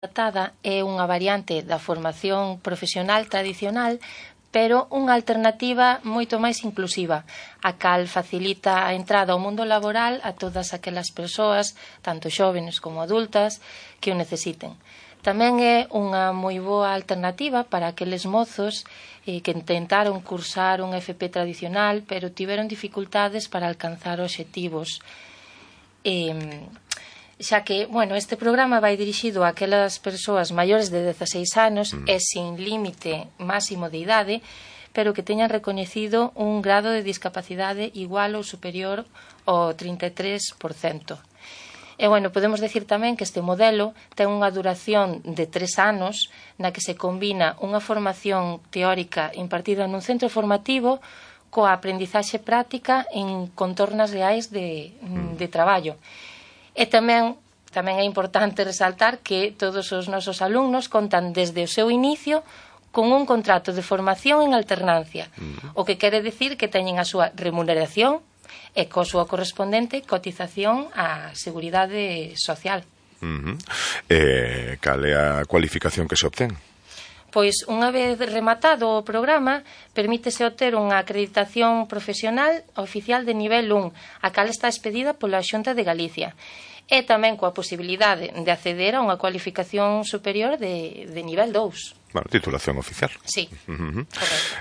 adaptada é unha variante da formación profesional tradicional, pero unha alternativa moito máis inclusiva, a cal facilita a entrada ao mundo laboral a todas aquelas persoas, tanto xóvenes como adultas, que o necesiten. Tamén é unha moi boa alternativa para aqueles mozos que intentaron cursar un FP tradicional, pero tiveron dificultades para alcanzar obxectivos. Xa que, este programa vai dirixido a aquelas persoas maiores de 16 anos e sin límite máximo de idade, pero que teñan recoñecido un grado de discapacidade igual ou superior ao 33%. E, podemos decir tamén que este modelo ten unha duración de 3 anos na que se combina unha formación teórica impartida nun centro formativo coa aprendizaxe práctica en contornas reais de traballo. E tamén é importante resaltar que todos os nosos alumnos contan desde o seu inicio con un contrato de formación en alternancia, o que quere decir que teñen a súa remuneración e coa súa correspondente cotización á Seguridade Social. Cal é a cualificación que se obtén? Pois, unha vez rematado o programa, permítese obter unha acreditación profesional oficial de nivel 1, a cal está expedida pola Xunta de Galicia, e tamén coa posibilidade de acceder a unha cualificación superior de nivel 2. Titulación oficial. Sí,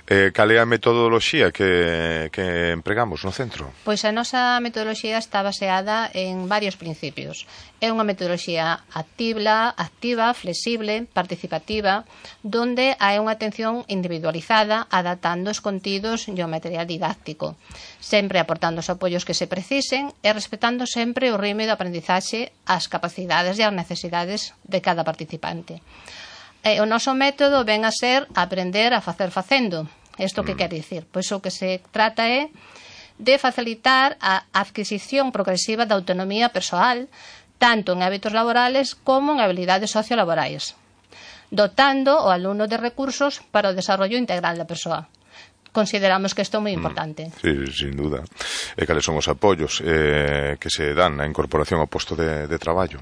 Cal é a metodoloxía que empregamos no centro? Pois a nosa metodoloxía está baseada en varios principios. É unha metodoloxía activa, flexible, participativa, donde hai unha atención individualizada, adaptando os contidos e o material didáctico, sempre aportando os apoios que se precisen e respetando sempre o ritmo de aprendizaxe, as capacidades e as necesidades de cada participante. O noso método ven a ser aprender a facer facendo. Isto que quer dicir? Pois o que se trata é de facilitar a adquisición progresiva da autonomía persoal, tanto en hábitos laborales como en habilidades sociolaborais, dotando o alumno de recursos para o desarrollo integral da persoa. Consideramos que isto é moi importante. Sí, sin duda. E cales son os apoios que se dan na incorporación ao posto de traballo?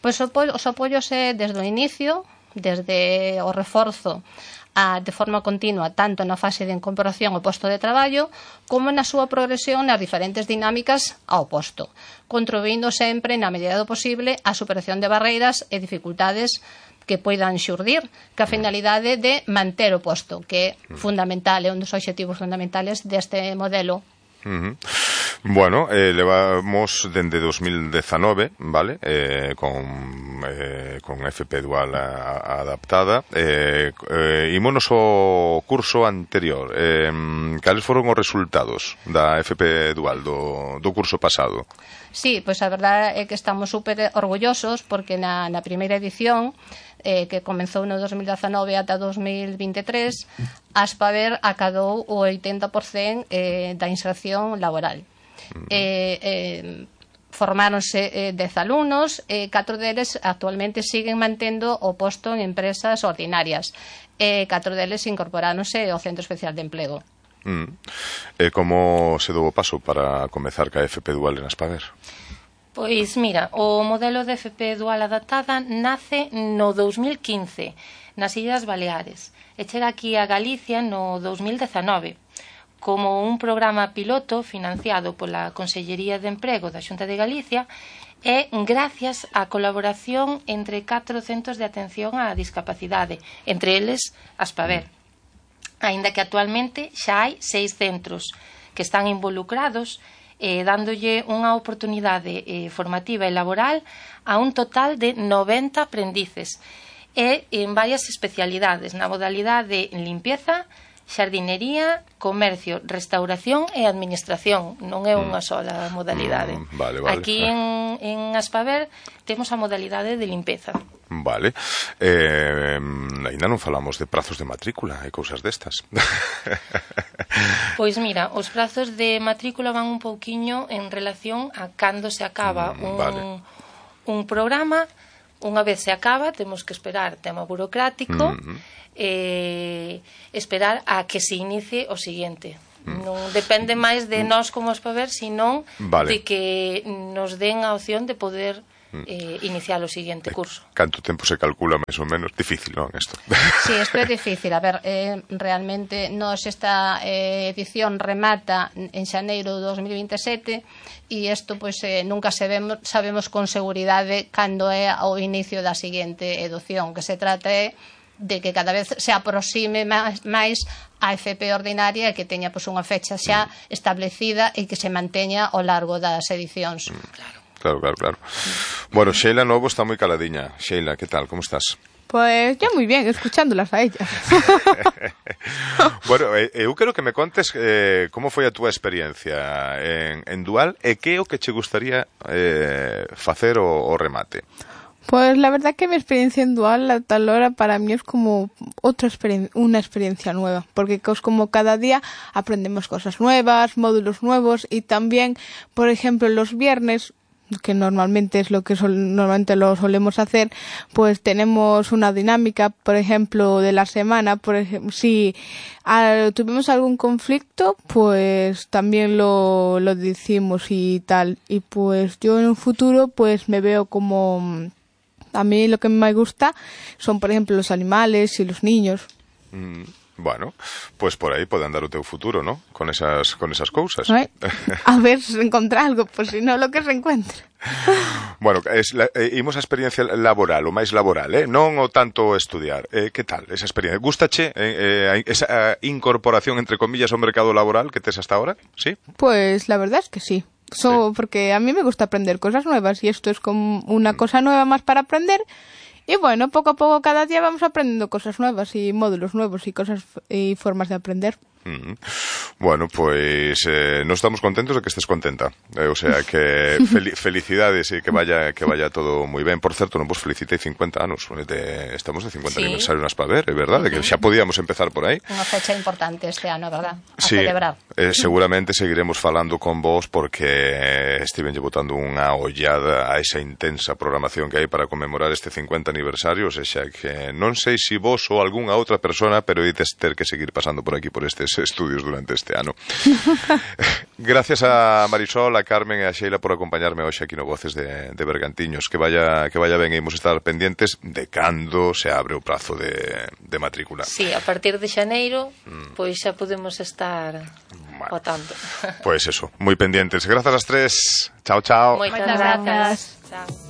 Pois os apoios é desde o inicio, desde o reforzo de forma continua, tanto na fase de incorporación ao posto de traballo como na súa progresión nas diferentes dinámicas ao posto, contribuindo sempre, na medida do posible, á superación de barreiras e dificultades que poidan xurdir, que a finalidade de manter o posto, que é fundamental, é un dos obxectivos fundamentales deste modelo. Levamos dende 2019, vale, con FP Dual adaptada. Ímonos ao curso anterior. Cales foron os resultados da FP Dual do curso pasado? Sí, pois a verdade é que estamos super orgullosos porque na primeira edición que comenzou no 2019 ata 2023, Aspaver acadou o 80% da inserción laboral. Formáronse 10 alumnos, 4 deles actualmente siguen mantendo o posto en empresas ordinarias, 4 deles incorporáronse ao Centro Especial de Empleo. Como se dou o paso para comezar ca FP Dual en Aspaver? Pois mira, o modelo de FP Dual adaptada nace no 2015 nas Illas Baleares e chega aquí a Galicia no 2019 como un programa piloto financiado pola Consellería de Emprego da Xunta de Galicia e gracias á colaboración entre 4 centros de atención á discapacidade, entre eles Aspaver. Aínda que actualmente xa hai 6 centros que están involucrados dándolle unha oportunidade formativa e laboral a un total de 90 aprendices e en varias especialidades na modalidade de limpieza, xardinería, comercio, restauración e administración. Non é unha sola modalidade. Aquí en Aspaver temos a modalidade de limpeza. Vale. Ainda non falamos de prazos de matrícula e cousas destas. Pois mira, os prazos de matrícula van un pouquiño en relación a cando se acaba un programa. Unha vez se acaba, temos que esperar tema burocrático esperar a que se inicie o seguinte. Non depende máis de nós como Aspaver, senón de que nos den a opción de poder iniciar o seguinte curso. Canto tempo se calcula máis ou menos? Difícil, non, isto? Sí, isto é difícil. A ver, realmente esta edición remata en xaneiro de 2027 e isto pois nunca sabemos con seguridade cando é o inicio da seguinte edición, que se trata de que cada vez se aproxime máis a FP ordinaria e que teña pois unha fecha xa establecida e que se manteña ao largo das edicións. Claro. Bueno, Sheila Novo está moi caladiña. Sheila, ¿qué tal? ¿Cómo estás? Pues yo muy bien, escuchándolas a ellas. Bueno, eu quero que me contes como foi a túa experiencia en Dual e que é o que che gustaría facer o remate. Pues la verdad que mi experiencia en Dual a tal hora para mí es como una experiencia nueva, porque como cada día aprendemos cosas nuevas, módulos nuevos y también, por ejemplo, los viernes, que normalmente es lo que normalmente lo solemos hacer, pues tenemos una dinámica, por ejemplo, de la semana. Por ejemplo, si tuvimos algún conflicto, pues también lo decimos y tal. Y pues yo en un futuro pues me veo como... A mí lo que me gusta son, por ejemplo, los animales y los niños. Bueno, pues por aí pode andar o teu futuro, ¿no? Con esas cousas. A ver se encontra algo, pues si no, lo que se encuentra. Bueno, imos a experiencia laboral, o máis laboral, non o tanto estudiar. Que tal esa experiencia? Gústache esa incorporación, entre comillas, ao mercado laboral que tes hasta ahora? ¿Sí? Pues la verdad es que sí. Porque a mí me gusta aprender cosas nuevas y esto es como una cosa nueva más para aprender. Y bueno, poco a poco cada día vamos aprendiendo cosas nuevas y módulos nuevos y cosas y formas de aprender. Bueno, pues no estamos contentos de que estés contenta. O sea, que felicidades e que vaya todo moi ben. Por certo, non vos felicitei 50 anos. Estamos de 50 aniversario nas Paver, é verdade? Que xa podíamos empezar por aí. Unha fecha importante este ano, verdad? A celebrar. Seguramente seguiremos seguiremos falando con vos porque estivenlle botando unha ollada a esa intensa programación que hai para conmemorar este 50 aniversario. O sea, que non sei se vos ou algunha outra persona, pero ides ter que seguir pasando por aquí, por estes estudios durante este ano. Gracias a Marisol, a Carmen e a Sheila por acompañarme hoxe aquí no Voces de Bergantiños. Que vaya ben, e imos estar pendientes de cando se abre o prazo de matrícula. Sí, a partir de xaneiro pois xa podemos estar votando. Pois eso, moi pendientes. Grazas ás tres. Chao. Moitas grazas. Chao.